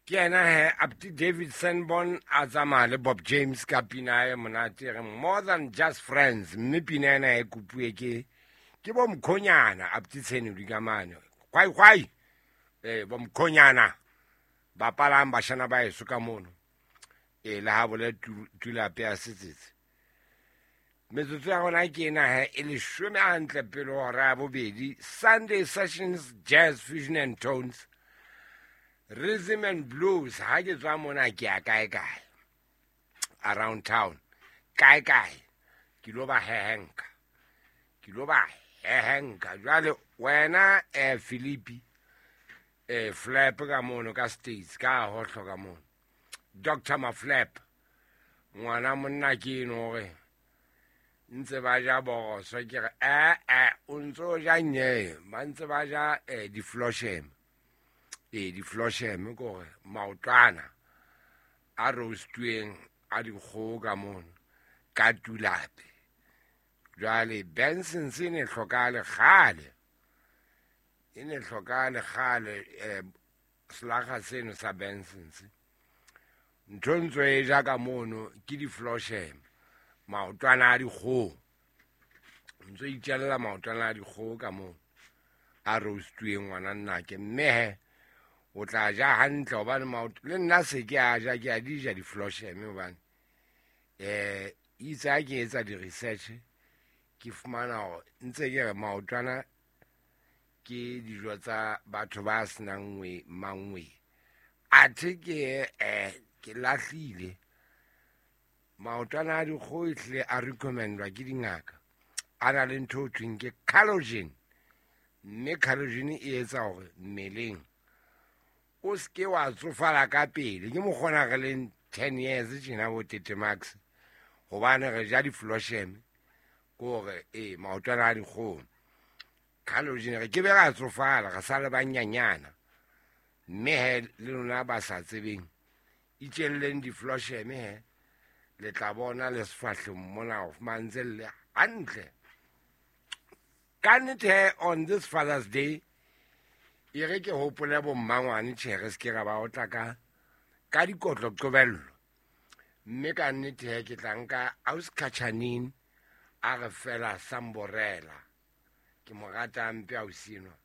Ke yena he Apti David Sanborn a tsamaya le Bob James ka pina e monate e reng More Than Just Friends, mme pina ena e kopuwe ke bo mkhonyana Apti Tshenodi ka mane kwai kwai, bo mkhonyana bapalang bashana ba eso ka mono, le ha bole tulape ya setsetse. Metsotso ya rona ke ena he e leshome hantle pele hora ya bobedi. Sunday Sessions, Jazz Fusion and Tones, Rhythm and Blues. Ha ke tswa mona ke ya kae kae around town, kae kae ke lo ba hehenka, ke lo ba hehenka. Jwale wena Philippi, Flap ka mono ka States, ka hohlo ka mono, Doctor Maflap, ngwana monna ke eno hore ntse ba ja boroso, ke re o ntso ja nye, ba ntse ba ja di-floshem. Di-floshem ke hore maotwana a roastuweng a dikgoho ka mono ka tulape. Jwale Benson's e ne hlokahale kgale, e ne hlokahale kgale, selakga seno sa Benson's. Ntho ntso e ja ka mono ke di-floshem, maotwana a dikgoho. Ntso itjella maotwana a dikgoho ka mono a roastuweng ngwana nnake, mme he o tla ja hantle hobane le nna se ke a ja, ke a di ja di-floshem hobane itse ha ke etsa di-research ke fumana hore ntse ke re maotwana ke dijo tsa batho ba senang nngwe mangwe. Athe ke lahlile maotwana a dikgoho ehlile a recommendwa ke dingaka, a na le ntho ho thweng ke collagen, mme collagen e etsa hore mmeleng o seke wa tsofala ka pele. Ke mokgona re leng 10 years tjena bo Tete Max, hobane re ja di-floshem, ke hore maotwana a dikgoho collagen, re ke be ra tsofala re sa le banyanyana. Mme he le lona ba sa tsebeng, itjelleng di-floshem he, le tla bona le sefahleng mona ho fumantse le hantle. Ka nnete he, on this Father's Day, e re ke hopole bo mmangwane, tjhe, re se ke ra ba otla ka dikotlo qobello. Mme ka nnete he, ke tla nka Ausi Khatjhanine a re fela samborela. Ke mo rata hampe ausi enwa.